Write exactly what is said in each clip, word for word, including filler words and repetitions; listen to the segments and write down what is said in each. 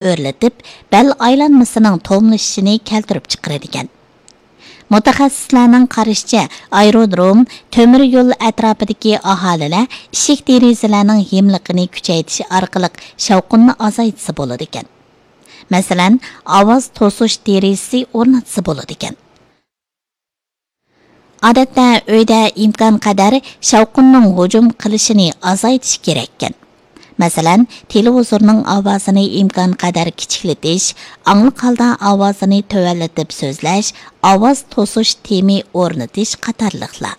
ئۆرلىتىپ، بەل ئايلانمىسىنىڭ توملىشىشىنى كەلتۈرۈپ چىقىرىدىكەن. مۇتەخەسسىسلەرنىڭ قارىشىچە، ئايرودروم، تۆمۈر يول ئەتراپىدىكى ئاھالىلەر ئىشىك دېرىزىلەرنىڭ ھىملىقىنى كۈچەيتىش ئارقىلىق شاۋقۇننى ئازايتسا بولىدىكەن. مەسىلەن، ئاۋاز توسۇش دېرىزىسى ئورناتسا بولىدىكەن. ئادەتتە ئۆيدە ئىمكانقەدەر شاۋقۇننىڭ ھۇجۇم قىلىشىنى ئازايتىش كېرەككەن. مەسىلەن، تېلېۋىزورنىڭ ئاۋازىنى ئىمكانقەدەر كىچىكلىتىش، ئاڭلىق ھالدا ئاۋازىنى تۆۋەنلىتىپ سۆزلەش، ئاۋاز توسۇش تېمى ئورنىتىش قاتارلىقلار.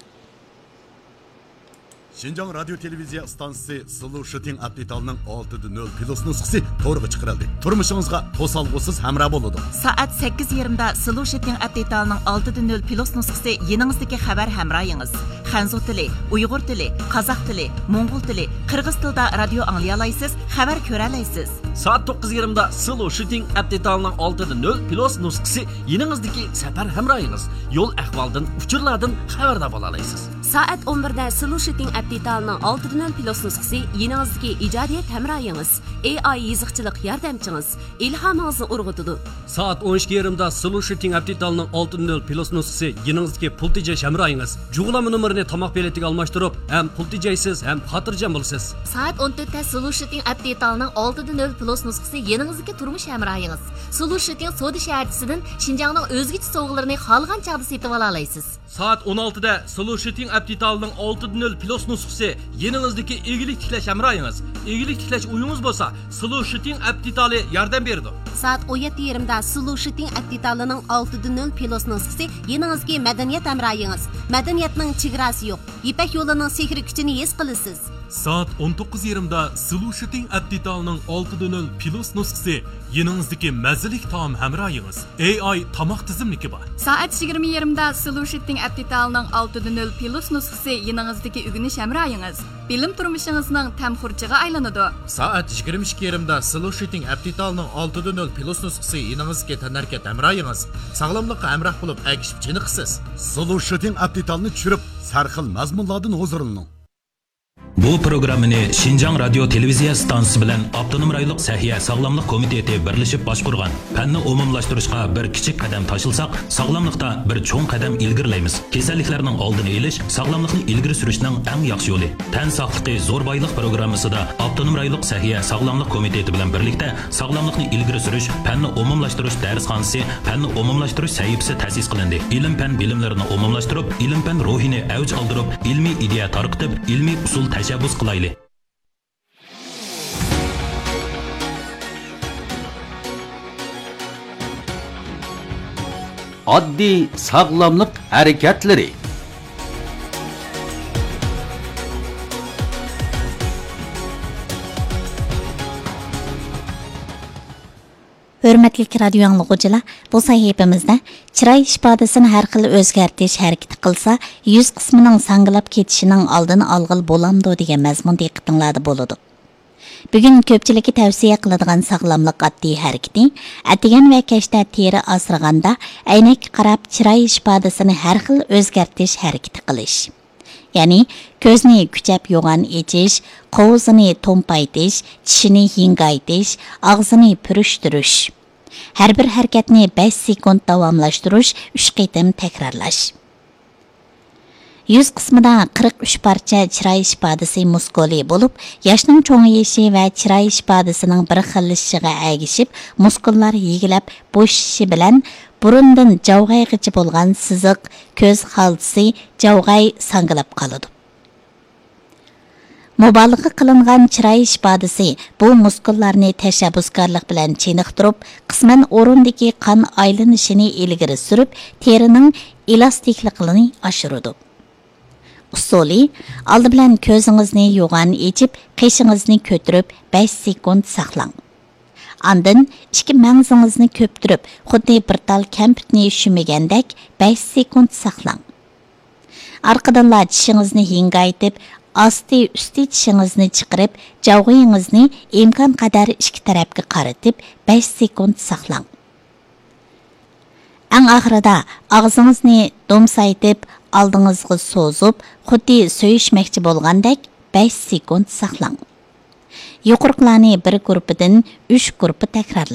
شىنجاڭ رادىيو تېلېۋىزىيە ئىستانسىسى سلۇ شىتىڭ ئەپ دېتالىنىڭ ئالتىدە نۆل پلۇس نۇسخىسى تورغا چىقىرىلدى. تۇرمۇشىڭىزغا توسالغۇسىز ھەمراھ بولىدۇ. سائەت سەككىز يېرىمدا سلۇ شىتىڭ ئەپ دېتالىنىڭ ئالتىدە نۆل پلۇس نۇسخىسى يېنىڭىزدىكى خەۋەر ھەمراھىڭىز. خەنزۇ تىلى، ئۇيغۇر تىلى، قازاق تىلى، موڭغۇل تىلى، قىرغىز تىلىدا رادىيو ئاڭلىيالايسىز، خەۋەر كۆرەلەيسىز. سائەت توققۇز يېرىمدا سلۇ شىتىڭ ئەپ دېتالىنىڭ ئالتىدە نۆل پلۇس نۇسخىسى يېنىڭىزدىكى سەپەر ھەمراھىڭىز. يول ئەھۋالدىن، ئۇچۇرلاردىن خەۋەردار بولالايسىز. سائەت ئون بىردە سلۇ شىتىڭ ئەپ دېتالىنىڭ ئالتىدە نۆل پلۇس نۇسخىسى يېنىڭىزدىكى ئىجادىيەت ھەمراھىڭىز، ئېي ئاي يېزىقچىلىق ياردەمچىڭىز، ئىلھامىڭىزنى ئۇرغۇتىدۇ. سائەت ئون ئىككى يېرىمدا سلۇ شىتىڭ ئەپ دېتالىنىڭ ئالتىدە نۆل پلۇس نۇسخىسى يېنىڭىزدىكى پۇل تېجەش ھەمراھىڭىز. جۇغلانما نومۇرىنى تاماق بېلىتىگە ئالماشتۇرۇپ، ھەم پۇل تېجەيسىز، ھەم خاتىرجەم بولىسىز. سائەت ئون تۆتتە سلۇ شىتىڭ ئەپ دېتالىنىڭ ئالتىدە نۆل پلۇس نۇسخىسى يېنىڭىزدىكى تۇرمۇش ھەمراھىڭىز. سلۇ شىتىڭ سودا شەھەرچىسىدىن شىنجاڭنىڭ ئۆزگىچە سوۋغىلىرىنى خالىغان چاغدا سېتىۋالالايسىز. سائەت ئون ئالتىدە سلۇ شىتىڭ ئەپ دېتالىنىڭ ئالتىدە نۆل پلۇس نۇسخىسى يېنىڭىزدىكى ئىگىلىك تىكلەش ھەمراھىڭىز. ئىگىلىك تىكلەش ئويىڭىز بولسا، سلۇ شىتىڭ ئەپ دېتالى ياردەم بېرىدۇ. سائەت ئون يەتتە يېرىمدا سلۇ شىتىڭ ئەپ دېتالىنىڭ ئالتىدە نۆل پلۇس نۇسخىسى يېنىڭىزدىكى مەدەنىيەت ھەمراھىڭىز. مەدەنىيەتنىڭ چېگراسى يوق. يىپەك يولىنىڭ سېھرىي كۈچىنى ھېس قىلىسىز. سائەت ئون توققۇز يېرىمدا سلۇ شىتىڭ ئەپ دېتالىنىڭ ئالتىدە نۆل پلۇس نۇسخىسى يېنىڭىزدىكى مەززىلىك تائام ھەمراھىڭىز. ئېي ئاي تاماق تىزىملىكى بار. سائەت يىگىرمە يېرىمدا سلۇ شىتىڭ ئەپ دېتالىنىڭ ئالتىدە نۆل پلۇس نۇسخىسى يېنىڭىزدىكى ئۆگىنىش ھەمراھىڭىز. بىلىم تۇرمۇشىڭىزنىڭ تەم خۇرجىغا ئايلىنىدۇ. سائەت يىگىرمە ئىككى يېرىمدا سلۇ شىتىڭ ئەپ دېتالىنىڭ ئالتىدە نۆل پلۇس نۇسخىسى يېنىڭىزدىكى تەنھەرىكەت ھەمراھىڭىز. ساغلاملىققا ھەمراھ بولۇپ، ئەگىشىپ چېنىقىسىز. سلۇ شىتىڭ ئەپ دېتالىنى چۈشۈرۈپ، سەرخىل مەزمۇنلاردىن ھۇزۇرلىنىڭ. بۇ پروگراممىنى شىنجاڭ رادىيو تېلېۋىزىيە ئىستانسىسى بىلەن ئاپتونوم رايونلۇق سەھىيە ساغلاملىق كومىتېتى بىرلىشىپ باشقۇرغان. پەننى ئومۇملاشتۇرۇشقا بىر كىچىك قەدەم تاشلىساق، ساغلاملىقتا بىر چوڭ قەدەم ئىلگىرىلەيمىز. كېسەللىكلەرنىڭ ئالدىنى ئېلىش، ساغلاملىقنى ئىلگىرى سۈرۈشنىڭ ئەڭ ياخشى يولى. تەن ساقلىقى زور بايلىق پروگراممىسىدا ئاپتونوم رايونلۇق سەھىيە ساغلاملىق كومىتېتى بىلەن بىرلىكتە ساغلاملىقنى ئىلگىرى سۈرۈش، پەننى ئومۇملاشتۇرۇش دەرسخانىسى، پەننى ئومۇملاشتۇرۇش سەھىپىسى تەسىس قىلىندى. ئىلىم-پەن بىلىملىرىنى ئومۇملاشتۇرۇپ، ئىلىم-پەن روھىنى ئەۋج ئالدۇرۇپ، ئىلمىي ئىدىيە تارقىتىپ، ئىلمىي ئۇسۇل تەشەببۇس قىلايلى. ئاددىي ساغلاملىق ھەرىكەتلىرى. ھۆرمەتلىك رادىيو ئاڭلىغۇچىلار، بۇ سەھىپىمىزدە چىراي ئىپادىسىنى ھەر خىل ئۆزگەرتىش ھەرىكىتى قىلسا، يۈز قىسمىنىڭ ساڭگىلاپ كېتىشىنىڭ ئالدىنى ئالغىلى بولامدۇ دېگەن مەزمۇن دىققىتىڭلاردا بولىدۇ. بۈگۈن كۆپچىلىككە تەۋسىيە قىلىدىغان ساغلاملىق ئاددىي ھەرىكىتى، ئەتىگەن ۋە كەچتە تېرە ئاسرىغاندا ئەينەككە قاراپ چىراي ئىپادىسىنى ھەر خىل ئۆزگەرتىش ھەرىكىتى قىلىش. يەنى كۆزنى كۈچەپ يوغان ئېچىش، قوۋۇزىنى تومپايتىش، چىشىنى ھىڭگايتىش، ئاغزىنى پۈرۈشتۈرۈش. ھەر بىر ھەرىكەتنى بەش سېكۇنت داۋاملاشتۇرۇش، ئۈچ قېتىم تەكرارلاش. يۈز قىسمىدا قىرىق ئۈچ پارچە چىراي ئىپادىسى مۇسكۇلى بولۇپ، ياشنىڭ چوڭىيىشى ۋە چىراي ئىپادىسىنىڭ بىر خىللىشىشىغا ئەگىشىپ، مۇسكۇللار يېگىلەپ بوشىشى بىلەن بۇرۇندىن جاۋغايغىچە بولغان سىزىق، كۆز خالتىسى، جاۋغاي ساڭگىلاپ قالىدۇ. مۇبالىغە قىلىنغان چىراي ئىپادىسى بۇ مۇسكۇللارنى تەشەببۇسكارلىق بىلەن چېنىقتۇرۇپ، قىسمەن ئورۇندىكى قان ئايلىنىشىنى ئىلگىرى سۈرۈپ، تېرىنىڭ ئېلاستىكلىقىنى ئاشۇرىدۇ. ئۇسۇلى: ئالدى بىلەن كۆزىڭىزنى يوغان ئېچىپ، قېشىڭىزنى كۆتۈرۈپ، بەش سېكۇنت ساقلاڭ. ئاندىن ئىككى مەڭزىڭىزنى كۆپتۈرۈپ، خۇددى بىر تال كەمپۈتنى شۈمىگەندەك بەش سېكۇنت ساقلاڭ. ئارقىدىنلا چىشىڭىزنى ھىڭگايتىپ، ئاستى ئۈستى چىشىڭىزنى چىقىرىپ، جاۋغىيىڭىزنى ئىمكانقەدەر ئىككى تەرەپكە قارىتىپ، بەش سېكۇنت ساقلاڭ. ئەڭ ئاخىرىدا ئاغزىڭىزنى دومسايتىپ، ئالدىڭىزغا سوزۇپ، خۇددى سۆيۈشمەكچى بولغاندەك بەش سېكۇنت ساقلاڭ. يۇقىرىقىلارنى بىر گۇرۇپپىدىن ئۈچ گۇرۇپپا تەكرارلاڭ.